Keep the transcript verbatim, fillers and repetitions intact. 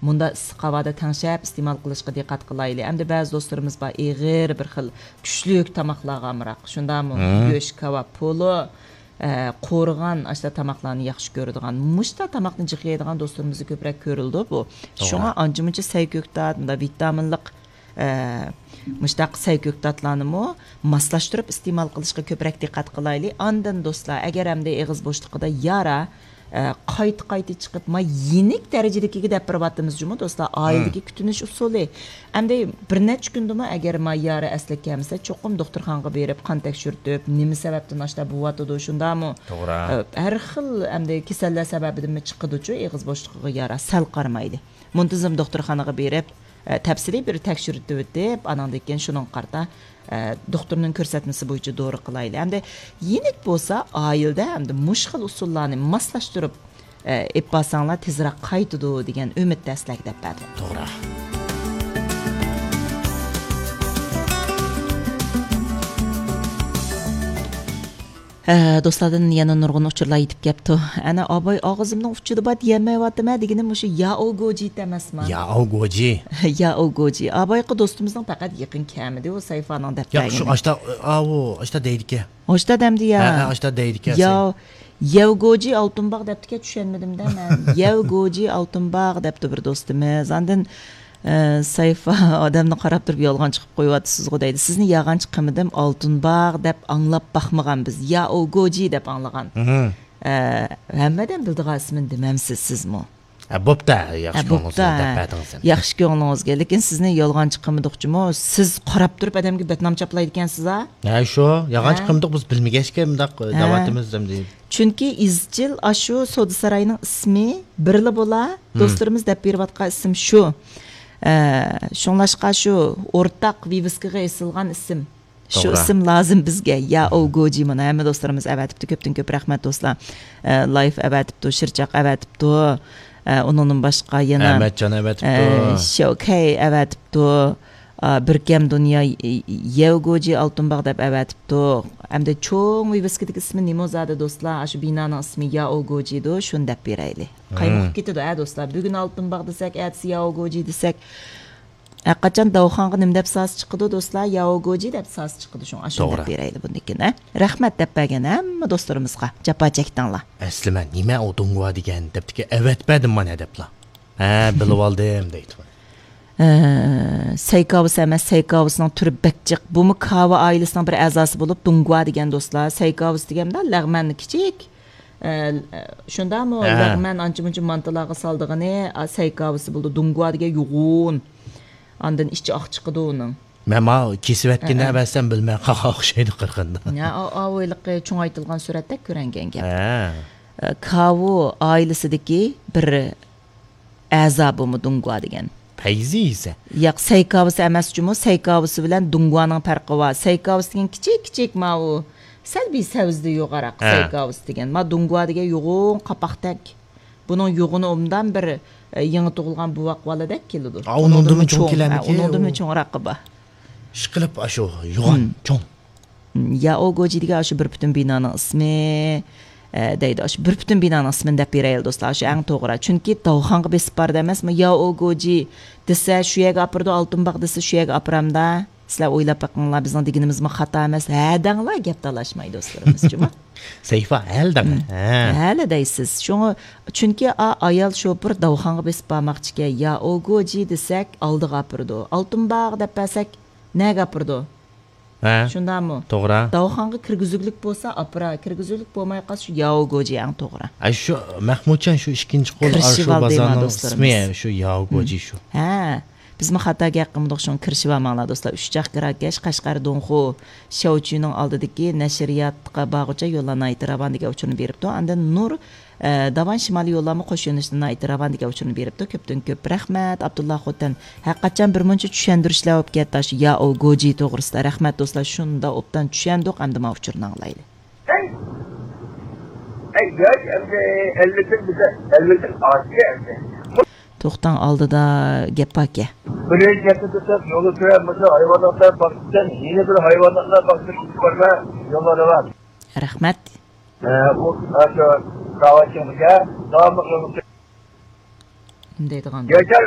مۇنداق ئىسسىق ھاۋادا تەڭشەپ ئىستېمال قىلىشقا دىققەت قىلايلى. ئەمدى بەزى دوستلىرىمىز بار، ئېغىر بىر خىل كۈچلۈك تاماقلارغا ئامراق. شۇنداقمۇ؟ مم. گۆش، كاۋاپ، پولۇ، ئە، قورۇغان ئاشۇنداق تاماقلارنى ياخشى كۆرىدىغان، مۇشۇنداق تاماقنى جىق يەيدىغان دوستلىرىمىزدا كۆپرەك كۆرۈلىدۇ بۇ. توغرا. شۇڭا ئانچە-مۇنچە سەي كۆكتات، مۇنداق ۋىتامىنلىق، ئە، مۇشۇنداق سەي كۆكتاتلارنىمۇ ماسلاشتۇرۇپ ئىستېمال قىلىشقا كۆپرەك دىققەت قىلايلى. ئاندىن دوستلار، ئەگەر ئەمدى ئېغىز بوشلۇقىدا يارا، ئە، قايتا-قايتا چىقىپ، ما يېنىك دەرىجىدىكىگە دەپ بېرىۋاتىمىز جۇمۇ دوستلار، ئائىلىدىكى كۈتۈنۈش ئۇسۇلى. ئەمدى بىر نەچچە كۈندىمۇ ئەگەر ما يارا ئەسلىگە كەلمىسە، چوقۇم دوختۇرخانىغا بېرىپ، قان تەكشۈرتۈپ، نېمە سەۋەبتىن ئاشۇنداق بولۇۋاتىدۇ، شۇنداقمۇ؟ توغرا. ئە، ھەر خىل ئەمدى كېسەللەر سەۋەبىدىنمۇ چىقىدۇچۇ ئېغىز بوشلۇقىغا يارا، سەل قارىمايلى. مۇنتىزىم دوختۇرخانىغا بېرىپ، ئە، تەپسىلىي بىر تەكشۈرتۈۋېتىپ، ئاناندىن كېيىن شۇنىڭغا قارىتا، ئە، دوختۇرنىڭ كۆرسەتمىسى بويىچە دورا قىلايلى. ئەمدى يېنىك بولسا، ئائىلىدە ئەمدى مۇشۇ خىل ئۇسۇللارنى ماسلاشتۇرۇپ، ئە، ئېلىپ بارساڭلار تېزرەك قايتىدۇ دېگەن ئۈمىدتە سىلەرگە دەپ بەردۇق. توغرا. ھە، دوستلاردىن يەنە نۇرغۇن ئۇچۇرلار يېتىپ كەپتۇ. ئەنە ئاباي ئاغزىمنىڭ ئۇچىدا بار دېيەلمەيۋاتىمەن دېگىنىم مۇشۇ ياۋگوجى ئەمەسما؟ ياۋگوجى. ياۋگوجى. ئابايقا دوستىمىزنىڭ پەقەت يېقىن كەمىدى، ئۇ سەيفانىڭ دەپ ياق، شۇ بەرگىنى. ئاشتا، ئاۋۇ، ئاشتا دەيدىكەن. ئاشتا دەمدى يا. ھە، ھە، ئاشتا دەيدىكەن. ياۋ-، ياۋگوجى ئالتۇن باغ دەپتىكەن، چۈشەنمىدىم دە مەن. ياۋگوجى ئالتۇن باغ دەپتۇ بىر دوستىمىز. ئاندىن ئە، سەيفا ئادەمنى قاراپ تۇرۇپ يالغانچى قىلىپ قويۇۋاتىسىزغۇ دەيدۇ. سىزنى يالغانچى قىلمىدىم، ئالتۇن باغ دەپ ئاڭلاپ باقمىغان بىز. ياۋگوجى دەپ ئاڭلىغان. مھم. ئە، ھەممە ئادەم بىلىدىغان ئىسمىنى دېمەمسىز سىزمۇ؟ ھە، بوپتا، ياخشى ھە، كۆڭلىڭىزگە بوپتا، دەپ ھە. بەردىڭىز ئەمدى. ياخشى كۆڭلىڭىزگە. لېكىن سىزنى يالغانچى قىلمىدۇقچىمۇ، سىز قاراپ تۇرۇپ ئادەمگە بەتنام چاپلايدىكەنسىز ھە؟ ھە، شۇ، يالغانچى ھە. قىلمىدۇق، بىز بىلمىگەچكە مۇنداق ھە. دەۋاتىمىز ئەمدى. چۈنكى ئىزچىل ئاشۇ سودا ساراينىڭ ئىسمى بىرلا بولا، مم. دوستلىرىمىز دەپ بېرىۋاتقان ئىسىم شۇ. ئە، شۇڭلاشقا شۇ ئورتاق ۋىۋىسكىغا ئېسىلغان ئىسىم. شۇ توغرا. ئىسىم لازىم بىزگە. ياۋگوجى مانا ھەممە دوستلىرىمىز ئەۋەتىپتۇ. كۆپتىن كۆپ رەھمەت دوستلار. ئە، لايف ئەۋەتىپتۇ، شىرچاق ئەۋەتىپتۇ. ئە، ئۇنىڭدىن باشقا يەنە، ئەمەتجان ئەۋەتىپتۇ. ئە، شوكەي ئەۋەتىپتۇ. ئا، بىركەم دۇنيا، ي-، ياۋگوجى ئالتۇن باغ دەپ ئەۋەتىپتۇ. ئەمدى چوڭ ۋىۋىسكىدىكى ئىسمى نېمە زادى دوستلار؟ ئاشۇ بىنانىڭ ئىسمى ياۋگوجىدۇ، شۇنى دەپ بېرەيلى. قايمۇقۇپ مم. كېتىدۇ ھە دوستلار. بۈگۈن ئالتۇن باغ دېسەك، ئەتىسى ياۋگوجى دېسەك، ھەرقاچان داۋخانغا نېمە دەپ سازا چىقىدۇ دوستلار؟ ياۋگوجى دەپ سازا چىقىدۇ. شۇڭا ئاشۇنى توغرا. دەپ بېرەيلى بۇندىن كېيىن ھە. رەھمەت دەپ بەرگەن ھەممە دوستلىرىمىزغا، جاپا چەكتىڭلار. ئەسلى مەن نېمە ئۇ دۇڭگۇا دېگەن دەپتىكى ئەۋەتىپ بەردىم مانا دەپلا. ھە، بىلىۋالدىم دەيدۇ. ئە، سەي كاۋىسى ئەمەس، سەي كاۋىسىنىڭ تۈرى بەك جىق. بۇمۇ كاۋا ئائىلىسىنىڭ بىر ئەزاسى بولۇپ، دۇڭگۇا دېگەن دوستلار. سەي كاۋىسى دېگەندە لەغمەن كىچىك. ئە، شۇنداقمۇ؟ ھە. لەغمەن ئانچە-مۇنچە مانتىلارغا سالىدىغىنى، ئا، سەي كاۋىسى بولىدۇ. دۇڭگۇا دېگەن يوغۇن. ئاندىن ئىچى ئاق چىقىدۇ ئۇنىڭ. مەن ماۋۇ كېسىۋەتكىنى ھە، ھە. ئەۋەتسەم بىلمەي قالغان ئوخشايدۇ قىرغىندا. يا، ئا-، ئاۋۇ ھېلىقى چوڭايتىلغان سۈرەتتەك كۆرۈنگەن گەپ. ھە. ئە، كاۋۇ ئائىلىسىدىكى بىر ئەزا بۇمۇ دۇڭگۇا دېگەن. پەيزى يېسە. ياق، سەي كاۋىسى ئەمەس جۇمۇ، سەي كاۋىسى بىلەن دۇڭگۇانىڭ پەرقى بار. سەي كاۋىسى دېگەن كىچىك، كىچىك ماۋۇ سەل بىر سەۋزىدە يوغانراق ھە. سەي كاۋىسى دېگەن. ما دۇڭگۇا دېگەن يوغۇن قاپاقتەك. بۇنىڭ يوغىنى ئوبدان بىر، ئە، يېڭى تۇغۇلغان بوۋاق بالىدەك كېلىدۇ. ئا، ئۇنىڭدىنمۇ چوڭ چوڭ، كېلەرمىكى ھە، ئۇنىڭدىنمۇ ئۇ؟ چوڭراقى بار. ئىشقىلىپ، ئاشۇ يوغان، مم. چوڭ. ياۋگوجى دېگەن ئاشۇ بىر پۈتۈن بىنانىڭ ئىسمى، ئە، دەيدۇ. ئاشۇ بىر پۈتۈن بىنانىڭ ئىسمىنى دەپ بېرەيلى، دوستلار. ئاشۇ ئەڭ توغرا. چۈنكى داۋخانغا بېسىپ بار دەيمەسمۇ، ياۋگوجى دېسە، شۇ يەرگە ئاپىرىدۇ، ئالتۇن باغ دېسە، شۇ يەرگە ئاپىرامدا. سىلەر ئويلاپ بېقىڭلار، بىزنىڭ دېگىنىمىزمۇ خاتا ئەمەس. ھە دەڭلار، گەپ تالاشماي، دوستلىرىمىز جۇمۇ. سەيفا، ھەل دەڭ. مم. ھە. ھەلە دەيسىز. شۇڭا، چۈنكى ئا-، ئايال شوپۇر داۋخانغا بېسىپ بارماقچىكەن. ياۋگوجى دېسەك، ئالدىغا ئاپىرىدۇ. ئالتۇن باغ دەپ بەرسەك، نەگە ئاپىرىدۇ؟ ھە. شۇنداقمۇ؟ توغرا. داۋخانغا كىرگۈزۈكلۈك بولسا ئاپىرار، كىرگۈزۈكلۈك بولماي قالسا شۇ ياۋگوجى ئەڭ توغرا. ئەي، شۇ مەخمۇتجان، شۇ ئىككىنچى قول كىرىشىۋالدى ئاشۇ ما بازارنىڭ دوستلىرىمىز. ئىسمى، شۇ ياۋگوجى مم. شۇ. ھە. بىزمۇ خاتا گەپ قىلمىدۇق، شۇڭا كىرىشىۋالماڭلار دوستلار. ئۈچ چاق كىراكەش، قەشقەر دۇڭخۇ، شياۋچۈنىڭ ئالدىدىكى نەشرىياتقا بارغۇچە يوللار ناھايىتى راۋان دېگەن ئۇچۇرنى بېرىپتۇ. ئاندىن نۇر ئە، داۋان شىمالىي يوللارمۇ قوش يۆنىلىشتە ناھايىتى راۋان دېگەن ئۇچۇرنى بېرىپتۇ. كۆپتىن كۆپ رەھمەت، ئابدۇللا خوتەن. ھەرقاچان بىر مۇنچە چۈشەندۈرۈشلەر بولۇپ كەتتى ئاشۇ ياۋگوجى توغرىسىدا. رەھمەت دوستلار، شۇنداق ئوبدان چۈشەندۇق، ئەمدى ماۋۇ ئۇچۇرنى ئاڭلايلى. توختاڭ، ئالدىدا گەپ باركەن. بىرىنچى گەپنى دېسەك، يولدا تۆۋەن بولسا ھايۋاناتلار باقسىكەن، يەنە بىر ھايۋاناتلار باقسىكەن، يوللار راۋان. رەھمەت. ئە، ئۇ، ئاشۇ كاۋاچىڭغا داۋاملىق يولغا نېمە دەيدىغان؟ ياشار